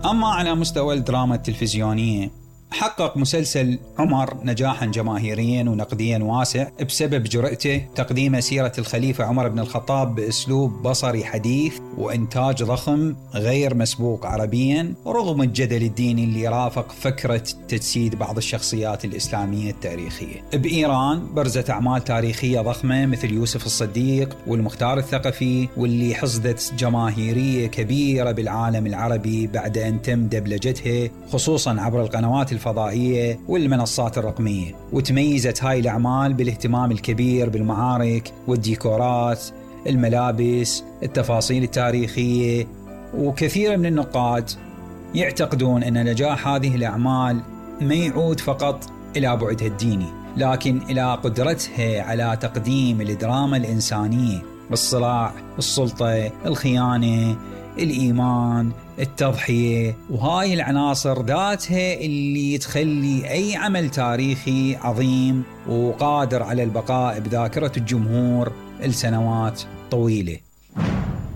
أما على مستوى الدراما التلفزيونية، حقق مسلسل عمر نجاحاً جماهيرياً ونقدياً واسع بسبب جرأته تقديم سيرة الخليفة عمر بن الخطاب بأسلوب بصري حديث وإنتاج ضخم غير مسبوق عربياً، رغم الجدل الديني اللي رافق فكرة تجسيد بعض الشخصيات الإسلامية التاريخية. بإيران برزت أعمال تاريخية ضخمة مثل يوسف الصديق والمختار الثقفي، واللي حصدت جماهيرية كبيرة بالعالم العربي بعد أن تم دبلجتها خصوصاً عبر القنوات الفضائية والمنصات الرقمية. وتميزت هاي الأعمال بالاهتمام الكبير بالمعارك والديكورات، الملابس، التفاصيل التاريخية. وكثير من النقاد يعتقدون أن نجاح هذه الأعمال ما يعود فقط إلى بعدها الديني، لكن إلى قدرتها على تقديم الدراما الإنسانية بالصراع، السلطة، الخيانة، الإيمان، التضحية. وهاي العناصر ذاتها اللي تخلي أي عمل تاريخي عظيم وقادر على البقاء بذاكرة الجمهور لسنوات طويلة.